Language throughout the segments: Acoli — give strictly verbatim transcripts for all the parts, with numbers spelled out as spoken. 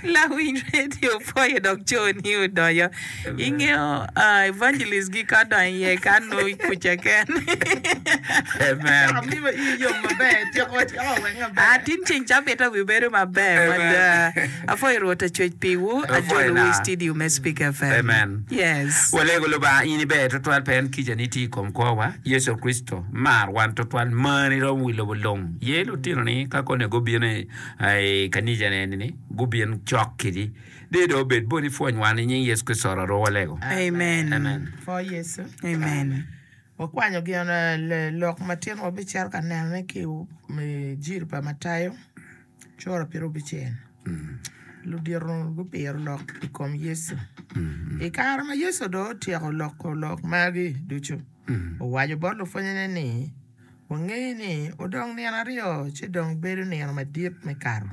Lawiny radio pwoyo dok coni odoyo. Ingeyo uh, evangelist gi ka donyo iye ka nongo kuca ken. Amen. Amiwa ii yom maber, tyeko tyeko weng maber. Ah, tin ceng cabit wi bedo maber mada. Apwoyo Rwot acwec piwu, Apwoyo ajolowu i na. studio me Speak FM. Amen. Yes. Walego Lubanga in iber twatwal pien kicani tye i kom kwowa. Yecu Kricito mar wan twatwal marni romo wi lobo lung. Ye lutinoni ka kone gubino i i kanica eni-ni gubin cok kedi. Dee dong obed boti pwony wan i nying Yecu Kricito oro walego. Amen. Amen. For Yecu. Amen. Wakwanyo gin eh, le- lok ma tin wabicito ka nenone ki i jiri pa Matayo cura pyera abicel. Ludito gupiro lok i kom Yecu. I kare ma Yecu dong otyeko loko lok magi ducu, owaco bot lupwonnyene ni, Wangeyo ni odong nino aryo ci dong bedo nino madit me Kato,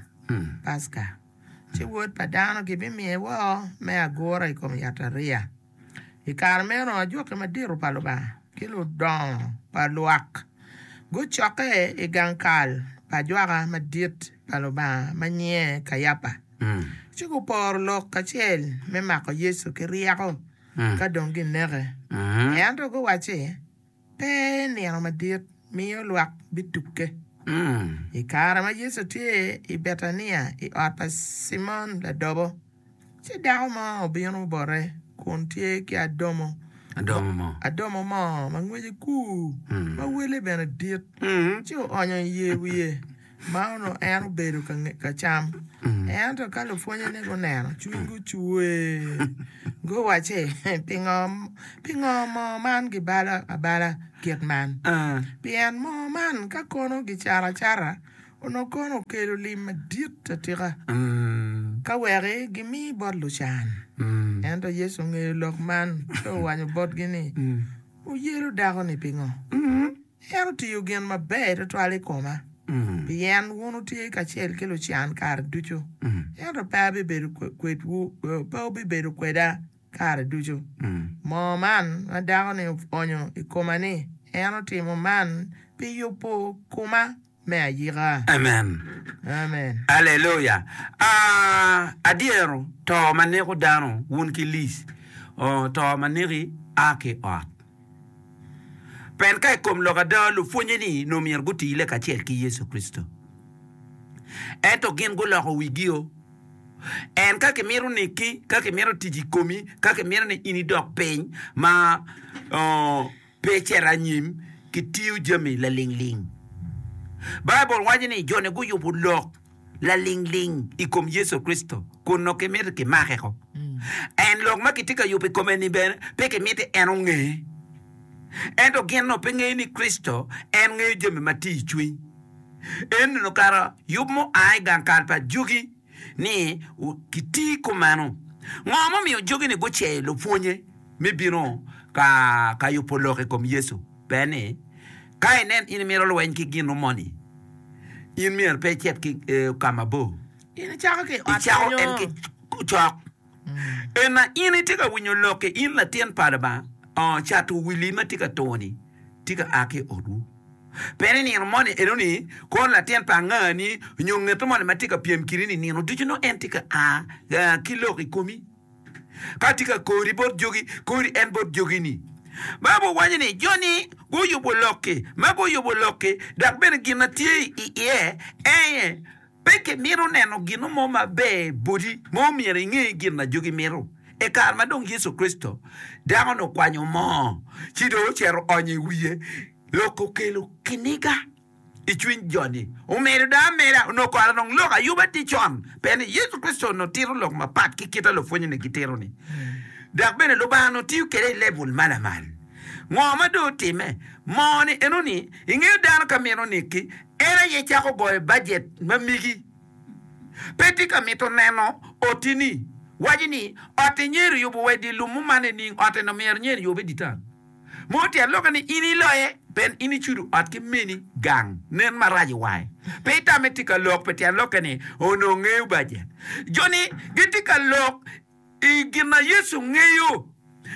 Paska, ci Wod pa dano gibimiye woko me agura i kom yatariya. I kare meno ajwaki madito pa Lubanga ki ludongo pa lwak gucokke i gang kal pa ajwaka madit pa Lubanga ma nyinge Kayapa, ci guporo lok kacel me mako Yecu ki ryeko ka dong gineke. Ento guwacci, Pe nino madit miyo lwak bitukke. I kare ma Yecu tye i Betania i ot pa Cimon ladobo, ci dako mo obino bote kun tye ki adomo Adomo mo. adomo moo ma ngwece kur, ma wele bene dit, ci oonyo i yer wiye ma onongo en obedo ka nge- ka cam. Ento ka lupwonnyene guneno, cwinygi ocwer, guwacci, Pingo, pingo moo man gibalo abala kit man? Pien moo man ka kono gicato acata, onongo kono okelo lim madit atika, ka weki gimi bot lucan. Ento Yecu ongeyo lok man, ci owaco botgi ni, Wuyelo dako-ni pingo? En otiyo gin maber twatwal i koma, pien wun wutye kacel ki lucan kare ducu, ento pe abibedo kwedwu, pe wubibedo kweda kare ducu. Moo man ma dako-ni oonyo i koma-ni, en otimo man pi yubo koma me ayika. Amen. Amen. Aleluya. Ah, adyero to ma neko dano wun ki Liz. Oh, to ma neki a ki i ot. Pien ka i kom lok ada, lupwonnye-ni nongo myero gutile kacel ki Yecu Kricito. Ento gin guloko wigio. En ka kimito neki, ka kimito tic i komi, ka kimito ni in idok piny ma pe icit anyim, kitiyo jami lalingling. Baibul waco ni jo-ni guyubo lok lalingling i kom Yecu Kricito kun nongo kimito kimake-ko. En lok ma kitye ka yubo i kome-ni bene pe kimiti en onge. Ento gin onongo pe ngeyo ni Kricito en ngeyo jami ma tye i cwiny. En onongo kara yub mua i gang kal pa jogi ni kiti kumeno. Ngo mumiyo jogi-ni guceyo lupwonye me bino ka ka yubo lok i kom Yecu? Pe ni, ka inen in imito lweny ki gin moni, in myero pe icit ki ka mabor. In icako ki i ot Icako kenyo. en ki cok. Ena in itye ka winyo lok-ki, in latin pa Lubanga, oo, cato wili ma tye ka tur-ni tye ka a ki i otwu. Pien i nino moni enoni, kono latin pa angani nyo ngeto moni ma tye ka pyem kidi-ni nino ducu nongo en tye ka a ki lok i komi. Ka tye ka kori bot jogi, kori en bot jogi-ni. Baibul waco ni jo-ni guyubo lok-ki, ma guyubo lok-ki, dok bene gin ma tye i iye en aye, pe kimito neno gin mo maber boti ma omyero inge gin ma jogi mito. I kare ma dong Yecu Kricito, dako-ni okwanyo moo ci dong ocito oonyo i wiye, lok okelo kiniga. I cwiny jo-ni. Omedo dong ameda, onongo kore dong lok ayuba tye con, pien ni Yecu Kricito onongo tito lok mapat ki kit ma lupwonnyene gitito-ni. Dok bene Lubanga onongo tiyo kwede i lebul ma lamal. Ngo ma dong otimme? Moo-ni enoni, ingeyo dano ka mito nekki, en aye cako goyo bajet ma megi. Pe tye ka mito neno oti-ni. Waco ni, Ot-ti nyer oyubo wa i dye lum muman nining? Ot-ti-ni myero nyer oyube i dye tal. Mo tyen lokke ni in iloye pien in icudo ot ki meni gang nen marac i wange. Pe itame tye ka lok pi tyen lokke ni onongo ngeyo bajet. Jo-ni gitye ka lok i gin ma Yecu ngeyo.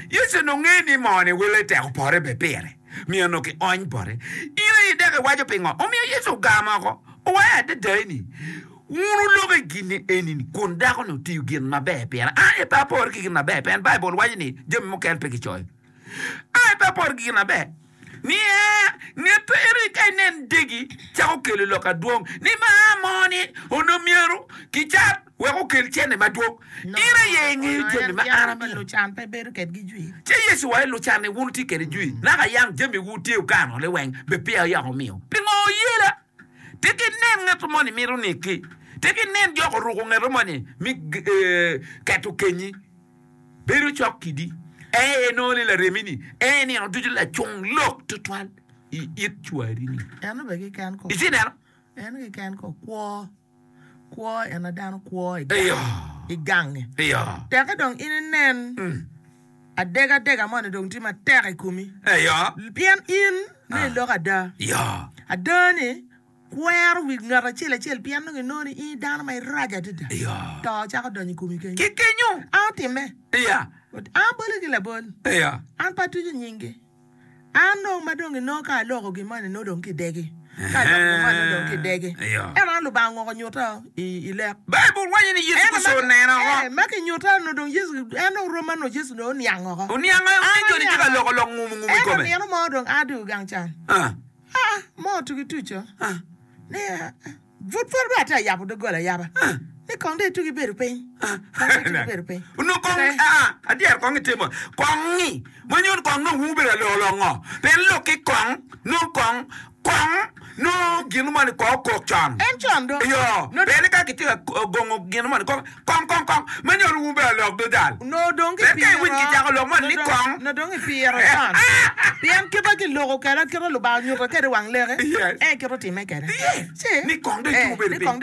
Yecu onongo ngeyo ni moo-ni wele tek opore bene pire, myero onongo kiony bote. In aye dok iwaco pingo? Omiyo Yecu ogamo oko, owaco adada ni, Wun wuloko i gin eni-ni kun dako-ni otiyo gin maber pira. An aye pe apore ki gin maber, pien Baibul waco ni jami mukene pe kicoyo. An aye pe apore ki gin maber. Ni aa, nget eni ka inen degi cako kelo lok adwong ni ma mo ni onongo myero kicat wek okel cente madwong. In aye ingeyo jami ma an amiyo. Lucan pe bedo kedgi jwi. Ci Yecu owaco ni, Lucan-ni wun wutye kwede jwi, naka yang jamiwu tye wukano liweng, bed peya yako wumiyo. Pingo wuyela? Tek inen ngat moni mito neki, tek inen jok oruko ngat moni me keto kenyi, bedo cok kidi, en aye nongo ni laremi-ni, en aye nino ducu lacung lok twatwal i it cwari-ni. Eno bene keken ko. Itye neno? Eno keken ko kwo, kwo en a dano kwo i Eyo. i gange. Eyo. Teke dong in inen adegadega moni dong tye matek i komi. Eyo. Pien in nongo iloko ada. Eyo. Ada-ni kwero wi ngat acel acel pien nongo inongo ni in dano ma irac adada. Eyo. To cako donyo i komi kenyo. Ki kenyo. An otimme. Eya. An boli ki labol. Eya. An pe atuco nyingi. An dong ma dong inongo ka aloko gin moni nongo dong kidegi. Ka aloko gin moni nongo dong kidegi. Eyo. Ento an Lubanga ongoko onyuta i, i lek. Baibul waco ni Yecu Ento Kricito ma, oneno oko. eh, ma kinyuta onongo dong Yecu, en dong rom ma onongo Yecu dong oniang oko. Oniang An ni joni tye ka aniang loko lok ngumu ngumu i Ento kome. nino mo dong a dong gang can. Ah. Ah, mo tugi tuco. Ah. Ni, ah, pud pud bene atye ka yabo doggola ayaba. Ni kong dong itugi bedo piny. Kong dong itugi bedo piny. Onongo kong, Eh. ah, adyero kong itimo, kong-ngi, ma nyuto kong nongo wubedo ka loko lok ngo? Pien lok ki kong, nongo kong, kong, nongo gin moni kong okok con. En con do. Iyo, Nongo pien ka kitye ka gongo gin moni kong, kong, kong, kong, ma nyuto wubedo ka lok dodal. Nongo dong Pien ka kipiro, iwiny kicako lok moni ni nongo kong. nongo dong ipiro con. Pien kite kiloko kwede, kite Lubanga onyuto kwede i wang leke, Yes. en kite otimme kwede. Yes. Ci, Ni kong dong eh, itugo bedo ni piny. kong dong